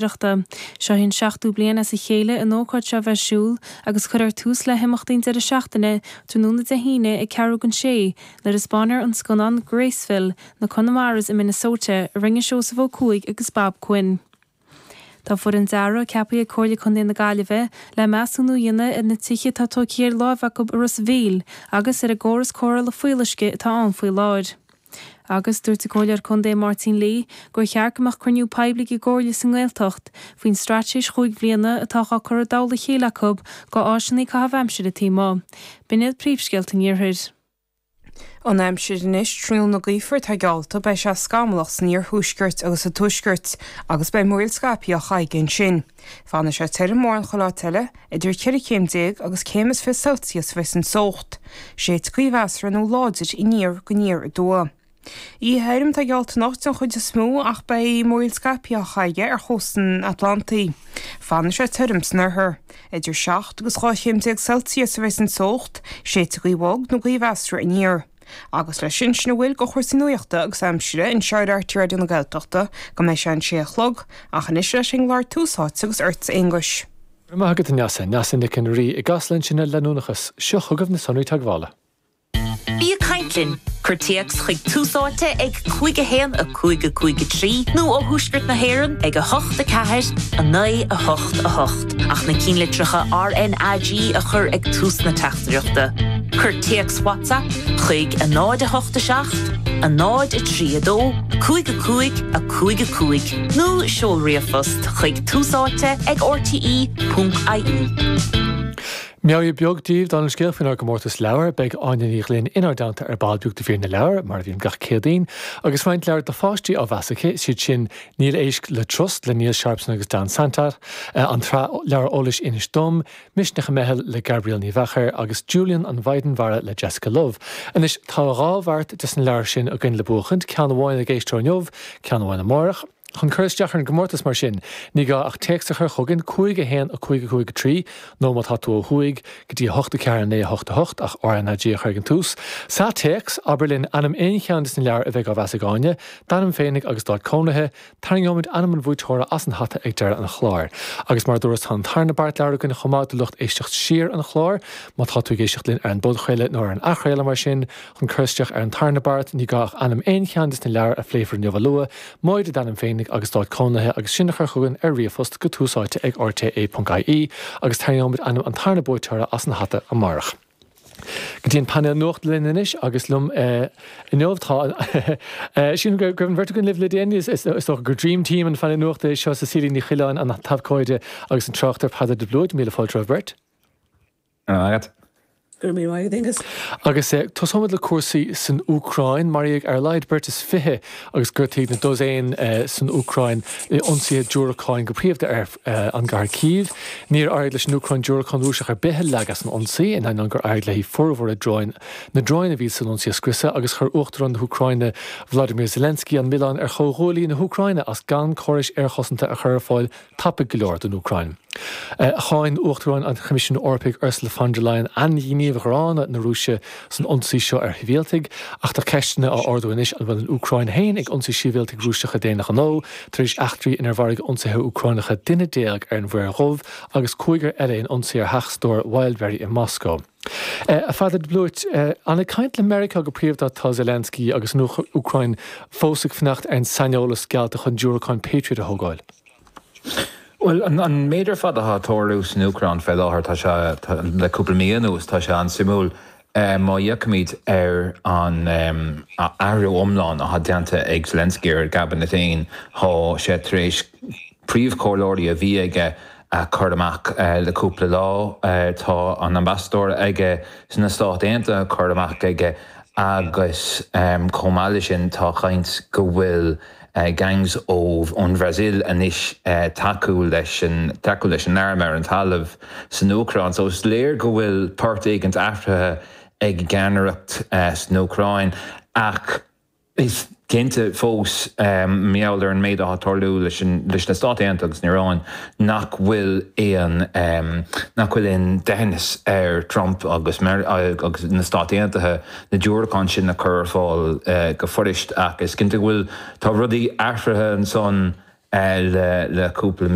Oidhreachta. Seo í an seachtú bliain as a chéile an ócáid seo a bheith ar siúl agus cuirfear tús le himeachtaí an deireadh seachtaine tráthnóna Dé hAoine ag ceathrú don sé nuair a 'spáinfear an scannán Graceville, Na Conamaras i Minnesota a rinne Seosamh Ó Cuaig agus Bob Quinn. Tá foireann dearaidh ceaptha ag Comhairle Contae na Gaillimhe le measúnú a dhéanamh ar na tithe atá tógtha ar láimh acu i Ros a' Mhíl agus ar an gcóras cóireála fuíolluisce atá ann faoi láthair. Agus dúirt an Comhairleoir Contae Máirtín Lee gur cheart go mbeadh cruinniú poiblí ag an gComhairle sa nGaeltacht faoin straitéis chúig bhliana atá á cur i dtoll a chéile acu go áiseanna caitheamh aimsire taobh amuigh. B'in iad príomhscéalta an Iarthair. An aimsir anois, tráthnóna gaofar atá geallta, beidh sé scamallach san iarthuaisceart agus sa tuaisceart agus beidh múraíl scaipthe á chaitheamh ansin. Fanfaidh sé tirim mórán chuile áit eile, idir 14 chéim agus céim is 20 Celsius a bheas an teocht. Séidfidh gaoth mheasartha nó láidir aniar go aniar aduaidh. Oíche thirim atá geallta anocht den chuid is mó ach beidh múraíl scaipthe á chaitheamh ar chósta an Atlantaigh. Fanfaidh sé tirim san oirthear. Idir 7 agus 12 chéim Celsius a bheas an teocht, séidfidh gaoth bhog nó gaoth mheasartha aniar. Agus leis sin, sin a bhfuil de chúrsaí nuachta agus aimsire anseo ar RTÉ Raidió na Gaeltachta go mbeidh sé an sé a chlog, ach anois leis an gclár Tús Áite agus ortsa Aonghus. Go raibh maith agat a Neasa, Neasa Nic an Rí i gCasla ansin ar Leanúnachas. Seo chugaibh na sonraí teagmhála. Bí ag caint linn! Cuir téacs chuig Tús Áite ag 5 1 5 5 3 nó ó thuaisceart na hÉireann ag 8 4 9 8 8 ach na cinnlitreacha RnaG a chur ag tús na teachtaireachta. Cuir téacs WhatsApp chuig 0 8 7 0 3 2 5 5 5 5 nó seol ríomhphost chuig túsáite ag rte.ie. Meabhair beag daoibh dála an scéil faoinár gcomórtas leabhar. Beidh Áine Ní Ghlinn inár dteannta ar ball beag do mhír na leabhar, mar a bhíonn gach Céadaoin, agus roinnt leabhar do pháistí á mheas aici, is iad sin Níl Éisc le Trust le Neil Sharpson agus Dan Santat, an tsraith leabhar eolais Inis Dom, Misneach i Meitheal le Gabrielle Ní Mheachair agus Julian an Mhaighdean Mhara le Jessica Love. Anois tá dhá bheart des na leabhair sin againn le buachaint, ceann amháin ag éisteoir inniu, ceann amháin amárach. Chun cur isteach ar an gcomórtas mar sin, ní gá ach téacs a chur chugainn, 5 1 5 5 3, nó má tá tú ó thuaidh, go dtí 8 4 9 8 8, ach RnaG a chur ag an tús. Sa téacs, abair linn ainm aon cheann des na leabhair a bheidh á mheas ag Áine, d'ainm féinig agus d'áit cónaithe, Tarraingeoimid ainm an bhuaiteora as an hata ag deireadh an chláir. Agus mar a dúras tá an tarna beart leabhar againn chomh maith do lucht éisteacht siar an chláir. Má tá tú ag éisteacht linn ar an bpodchraoladh nó ar an athchraoladh mar sin, chun cur isteach ar an tarna beart, ní gá ach ainm aon cheann des na leabhair a phléifear inniu a lua, móide d'ainm féinig agus d'áit cónaithe agus sin a chur chugainn ar ríomhphost go tús áite ag rte.ie agus tarraingeoimid ainm an tarna buaiteora as an hata amárach. Go dtí an painéal nuachta linn anois agus liom inniu tá sílim go raibh an bheirt againn libh le déanaí, is dócha gur dream team an phainéil nuachta é seo, Cecilia Ní Choileáin, an t-abhcóide agus an tráchtaire Peadar de Blúit. Míle fáilte romhaibh beirt. Go raibh maith agat. Go raibh míle maith agat, Aonghus. Agus tosóimid le cúrsaí san Úcráin. Maraíodh ar a laghad beirt is 20 agus gortaíodh na dosaein san Úcráin i ionsaithe diúracáin go príomhda ar an gcathair Cív. Níor éirigh leis an Úcráin diúracán Rúiseach ar bith a leagadh san ionsaí, in ainneoin gur éirigh léi formhór a dróin na dróin a bhí san ionsaí a scriosadh agus chuir Uachtarán na hÚcráine Vladimir Zelensky an milleán ar chomhghuaillí na hÚcráine as gan córais aerchosanta a chur ar fáil tapaidh go leor don Úcráin. Cháin Uachtarán an Choimisiúin Eorpaigh Ursula von der Leyen ainghníomh ghránna na Rúise san ionsaí seo ar shibhialtaigh, ach tá ceisteanna á ardú anois an bhfuil an Úcráin féin ag ionsaí sibhialtaigh Rúiseacha d'aon ghnó, tar éis eachtraí inar mharaigh ionsaithe Úcránacha duine ar an Mhuir Dhubh agus cúigear eile in ionsaí ar theach stóir Wildberry i Moscó. A Pheadair de Blúit, an ag caint le Meiriceá go príomhda atá Zelensky agus an Úcráin fós ag fanacht ar an saineolas geallta chun diúracáin Patriot a thógáil? Bhuel, an méid ar fad atá ag tarlú san Úcráin fé láthair, tá sé, le cúpla mí anuas, tá sé an-suimiúil. Má fhéachaimid ar an athrú iomlán atá déanta ag Zelensky ar a gcabinet féin, tá sé tar éis príomhchomhairleoirí a bhí aige a chur amach le cúpla lá. Tá an ambasadóir aige sna Stáit Aontaithe curtha amach aige agus chomh maith leis sin tá caint go bhfuil gangs ón Bhrasaíl anois tacú leis an tacú leis an arm ar an talamh san Úcráin. So is léir go bhfuil port éigint athraithe ag an gceannaireacht san Úcráin ach Is cinnte fós, mar gheall ar an méid atá ag tarlú leis na Stáit Aontaithe agus an Iaráin, nach bhfuil aon nach bhfuil aon deithneas ar Trump agus agus na Stáit Aontaithe na diúracáin sin a chur ar fáil go fuirist. Ach is cinnte go bhfuil tá rudaí athraithe ansan. Le cúpla mí.